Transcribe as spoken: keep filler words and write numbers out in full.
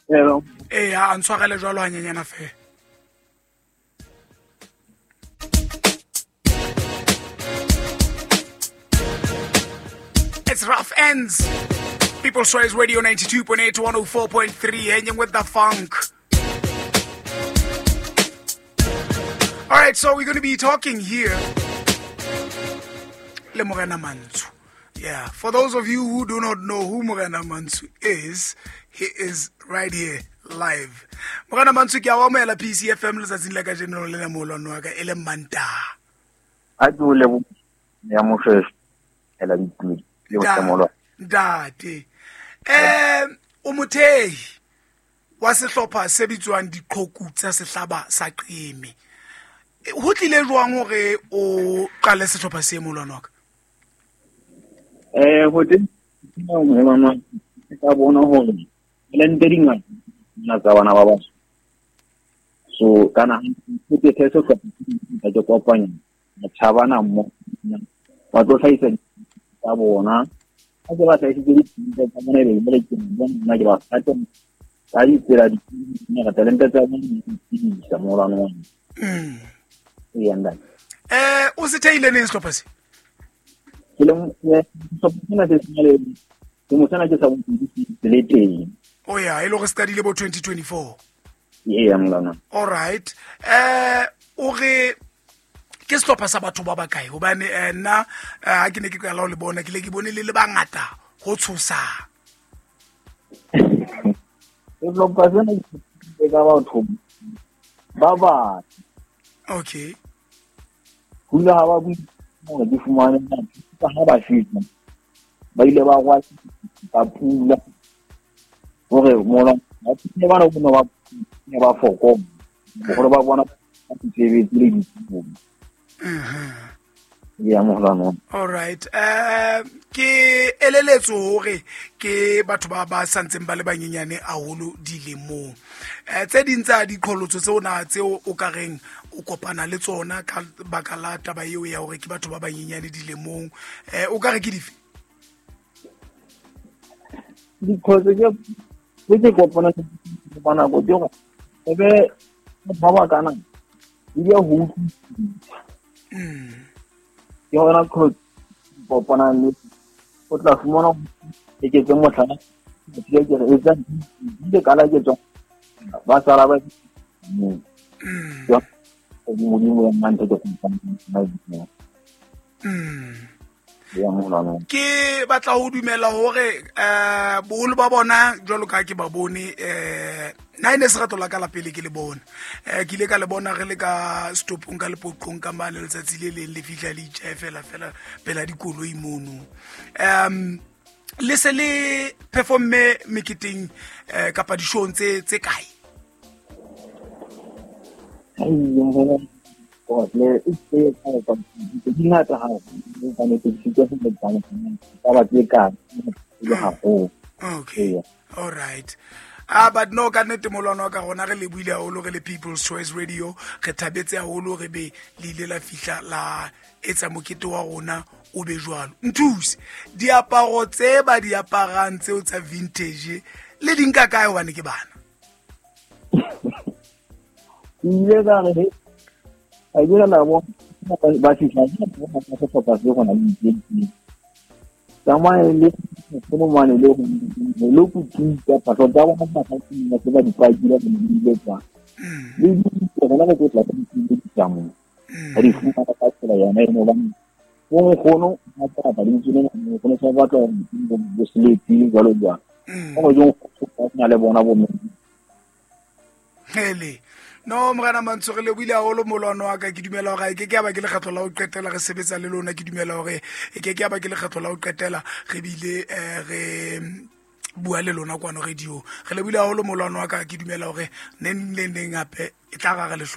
Hello. Eh a ntshwarele jwalo hanyenyana fela. It's Rough Ends. People's Choice Radio ninety-two point eight, one oh four point three, hanging with the funk. All right, so we're going to be talking here. Le Morena Mantsho. Yeah, for those of you who do not know who Morena Mantsho is, he is right here live. Morena Mantsho ke a o amohela P C F M letsatsing la kajeno le molwano wa ka e le Mantaha. A ke o lebohe ya mofeso ela dituli le botamolo. Ntate. Eh o mothehi wa sehlopha se bitswang Diqhoku tsa Sehlaba sa Qeme. Ho tlile jwang hore o qale sehlopha se molwano wa ka? Eh ho teng molwano ka bona hore talente di ngata nna tsa bana ba batho. So kana ke ke se ka ke kopanya batjha mo ba tlo hlahisa tsa bona. Ha ke ba hlahisitse ditaba tsa bona be le ke bona ke ba rata ka ditsela di ka talente tsa bona di isa molwano wa. Mm. Ee, eh o se theile neng sehlopha se? Ke le sehlopha sena se sena ke mo sena ke sa bontsi le teng. Oh yeah, e le go qadile bo twenty twenty-four. Ee, molwano. All right. Eh o re ke sehlopha sa batho ba ba kae? Hobane nna ha ke ne ke qala ho le bona ke le ke bone le le bangata ho tshosa. Sehlopha sena ke ka batho ba ba. Okay. Hula ha ba bue hore di fumane ka ha ba fihla. Ba ile ba kwa ba pula. Hore mola ba ne ba no ba ne ba foko. Hore ba bona ba tsebetse le dithuto. Mhm. Ya molwano. All right. Eh ke eleletso hore ke batho ba ba santseng ba le banyenyane haholo dilemong. Eh tse ding tsa diqholotso tseo na tseo o ka reng o kopana le tsona ka baka la taba eo ya hore ke batho ba banyenyane dilemong. Eh o ka re ke dife? Diqholotso ke ke kopana le bana go dira. Ebe ba ba kana di ya ho. Mm. Ke hona qholotso kopana le o tla fumana ke ke motlhala ke ke re etsa di kala ke tswa ba sala ba mm ya modimo ya mantho ke kopana mm ya molwano. Ke batla ho dumela hore eh boholo ba bona jwalo ka ke ba bone eh nna ene se ratola ka la pele ke le bona. Eh ke ile ka le bona re le ka stopong ka lepoqong ka mane letsatsi le leng le fihla le itjha fela fela pela dikoloi mono. Um le se le performe meketeng eh kapa dishong tse tse kae? Ai ya o le itse ka ka di ngata ha o ka ne ke se ke ba ba tse ka le haholo. Okay. All right. Ah but no ka nnete molwano wa ka rona re le buile haholo re le People's Choice Radio re thabetse haholo re be le ile la fihla la etsa mokete wa rona o be jwalo. Nthuse diaparo tse ba di aparang tseo tsa vintage le di nka kae hobane ke bana? Ile ka re a ile la bona ba fihla ba sehlopha se gona le ditsi. Tsamaya le kono mane le le go tsa patlo tsa bona ba ka tsena ba di pakile le di tsa. Le di gona go tla ka di tsa mo. Ba di fumana ka tsela yona eno ba go gono ba tla ba di tsene go ne sa batla go sleep jalo jalo. Go go go na le bona bo mme. Hele. No Morena Mantsho re le buile haholo molwano wa ka ke dumela hore ke ke ba ke lekgetho la ho qetela re sebetsa le lona ke dumela hore ke ke ba ke lekgetho la ho qetela re bile re bua le lona kwano radio re le buile haholo molwano wa ka ke dumela hore neng le neng hape e tla ra re le